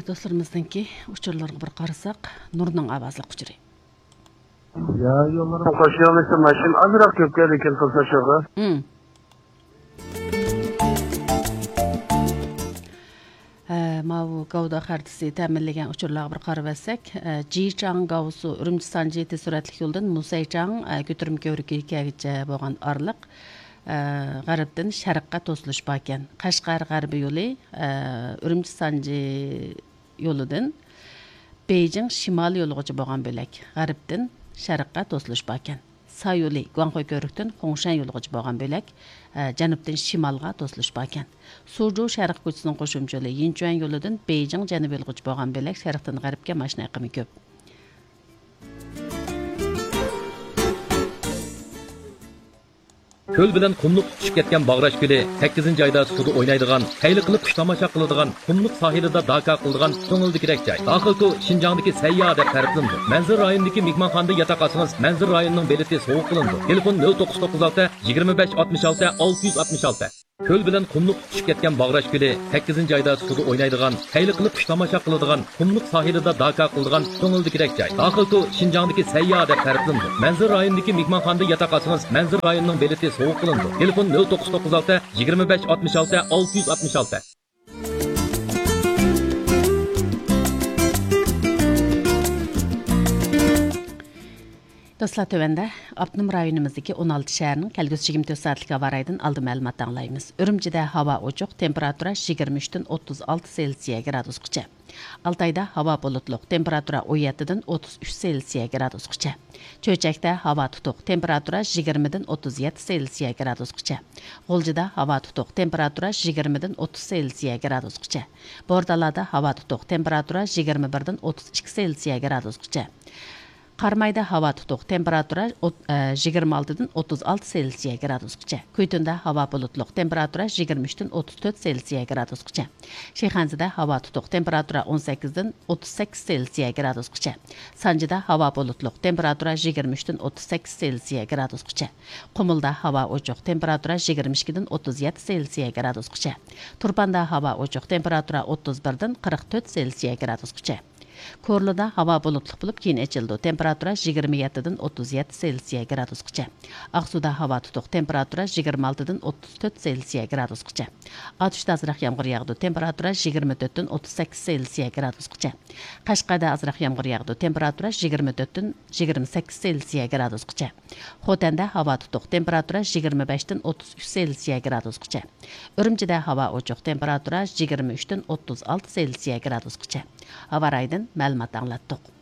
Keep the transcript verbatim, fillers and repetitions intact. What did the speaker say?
دوستلىرىمىزنىڭكى ئۇچۇرلىرىغا بىر قارىساق، نۇرنىڭ ئاۋازلىق ئۇچۇرى. يا يوللىرىم قوشۇيالمىسا ماشىنا ئازراق كۆپ كەلدىكەن قىلسا شۇغا. مم. ھە، ماۋۇ گاۋدا خەرىتىسى تەمىنلىگەن ئۇچۇرلارغا بىر قارىۋەتسەك، ئە، جىچاڭ گاۋسۇ ئۈرۈمچى سانجى تېز سۈرئەتلىك يولىدىن مۇسەيچاڭ، ئە، كۆتۈرمە كۆۋرۈكىگىچە بولغان ئارىلىق، ئە، غەربتىن شەرققە توسۇلۇش باركەن. قەشقەر غەربىي يولى، ئە، ئۈرۈمچى سانجى يولىدىن بېيجىڭ شىمالىي يولىغىچە بولغان بۆلەك غەربتىن شەرققە توسۇلۇش باركەن. سا يولى گۇاڭخۇي كۆۋرۈكتىن خۇڭشەن يولىغىچە بولغان بۆلەك، ئە، جەنۇبتىن شىمالغا توسۇلۇش باركەن. سۇجۇ شەرق كوچىسىنىڭ قوشۇمچە يولى يىنچۈەن يولىدىن بېيجىڭ جەنۇب يولىغىچە بولغان بۆلەك شەرقتىن غەربكە ماشىنا ئېقىمى كۆپ. كۆل بىلەن قۇملۇق تۇتىشىپ كەتكەن باغراش كۆلى، سەككىزىنچى ئايدا سۇدا ئوينايدىغان، خەيلى قىلىپ قۇش تاماشا قىلىدىغان، قۇملۇق ساھىلىدا داكا قىلىدىغان كۆڭۈلدىكىدەك جاي. داخىل تور شىنجاڭدىكى سەيياھ دەپ تەرىپلىنىدۇ. مەنزىرە رايونىدىكى مېھمانخانىدا ياتاق ئالسىڭىز، مەنزىرە رايونىنىڭ بېلىتى سوۋغا قىلىنىدۇ. تېلېفون: نۆل توققۇز توققۇز ئالتە، يىگىرمە بەش ئاتمىش ئالتە، ئالتە يۈز ئاتمىش ئالتە. كۆل بىلەن قۇملۇق تۇتىشىپ كەتكەن باغراش كۆلى، سەككىزىنچى ئايدا سۇدا ئوينايدىغان، خەيلى قىلىپ قۇش تاماشا قىلىدىغان، قۇملۇق ساھىلىدا داكا قىلىدىغان كۆڭۈلدىكىدەك جاي. داخىل تور شىنجاڭدىكى سەيياھ دەپ تەرىپلىنىدۇ. مەنزىرە رايونىدىكى مېھمانخانىدا ياتاق ئالسىڭىز، مەنزىرە رايونىنىڭ بېلىتى سوۋغا قىلىنىدۇ. تېلېفون: نۆل توققۇز توققۇز ئالتە، يىگىرمە بەش ئاتمىش ئالتە، ئالتە يۈز ئاتمىش ئالتە. دوستلار، تۆۋەندە ئاپتونوم رايونىمىزدىكى ئون ئالتە شەھەرنىڭ كەلگۈسى يىگىرمە تۆت سائەتلىك ھاۋا رايىدىن ئالدىن مەلۇمات ئاڭلايمىز. ئۈرۈمچىدە ھاۋا ئوچۇق، تېمپېراتۇرا يىگىرمە ئۈچتىن ئوتتۇز ئالتە سېلسىيە گرادۇسقىچە. ئالتايدا ھاۋا بۇلۇتلۇق، تېمپېراتۇرا ئون يەتتىدىن ئوتتۇز ئۈچ سېلسىيە گرادۇسقىچە. چۆچەكتە ھاۋا تۇتۇق، تېمپېراتۇرا يىگىرمىدىن ئوتتۇز يەتتە سېلسىيە گرادۇسقىچە. غۇلجىدا ھاۋا تۇتۇق، تېمپېراتۇرا يىگىرمىدىن ئوتتۇز سېلسىيە گرادۇسقىچە. بورتالادا ھاۋا تۇتۇق، تېمپېراتۇرا يىگىرمە بىردىن ئوتتۇز ئىككى سېلسىيە گرادۇسقىچە. قارامايدا ھاۋا تۇتۇق، تېمپېراتۇرا ئوت-، ئە، يىگىرمە ئالتىدىن ئوتتۇز ئالتە سېلسىيە گرادۇسقىچە. كۈيتۇندا ھاۋا بۇلۇتلۇق، تېمپېراتۇرا يىگىرمە ئۈچتىن ئوتتۇز تۆت سېلسىيە گرادۇسقىچە. شىخەنزىدە ھاۋا تۇتۇق، تېمپېراتۇرا ئون سەككىزدىن ئوتتۇز سەككىز سېلسىيە گرادۇسقىچە. سانجىدا ھاۋا بۇلۇتلۇق، تېمپېراتۇرا يىگىرمە ئۈچتىن ئوتتۇز سەككىز سېلسىيە گرادۇسقىچە. قۇمۇلدا ھاۋا ئوچۇق، تېمپېراتۇرا يىگىرمە ئىككىدىن ئوتتۇز يەتتە سېلسىيە گرادۇسقىچە. تۇرپاندا ھاۋا ئوچۇق، تېمپېراتۇرا ئوتتۇز بىردىن قىرىق تۆت سېلسىيە گرادۇسقىچە. كورلىدا ھاۋا بۇلۇتلۇق بولۇپ، كېيىن ئېچىلىدۇ، تېمپېراتۇرا يىگىرمە يەتتىدىن ئوتتۇز يەتتە سېلسىيە گرادۇسقىچە. ئاقسۇدا ھاۋا تۇتۇق، تېمپېراتۇرا يىگىرمە ئالتىدىن ئوتتۇز تۆت سېلسىيە گرادۇسقىچە. ئاتۇشتا ئازراق يامغۇر ياغىدۇ، تېمپېراتۇرا يىگىرمە تۆتتىن ئوتتۇز سەككىز سېلسىيە گرادۇسقىچە. قەشقەردە ئازراق يامغۇر ياغىدۇ، تېمپېراتۇرا يىگىرمە تۆتتىن يىگىرمە سەككىز سېلسىيە گرادۇسقىچە. خوتەندە ھاۋا تۇتۇق، تېمپېراتۇرا يىگىرمە بەشتىن ئوتتۇز ئۈچ سېلسىيە گرادۇسقىچە. ئۈرۈمچىدە ھاۋا ئوچۇق، تېمپېراتۇرا يىگىرمە ئۈچتىن ئوتتۇز ئالتە سېلسىيە گرادۇسقىچە. ھاۋا رايىدىن مەلۇمات ئاڭلاتتۇق.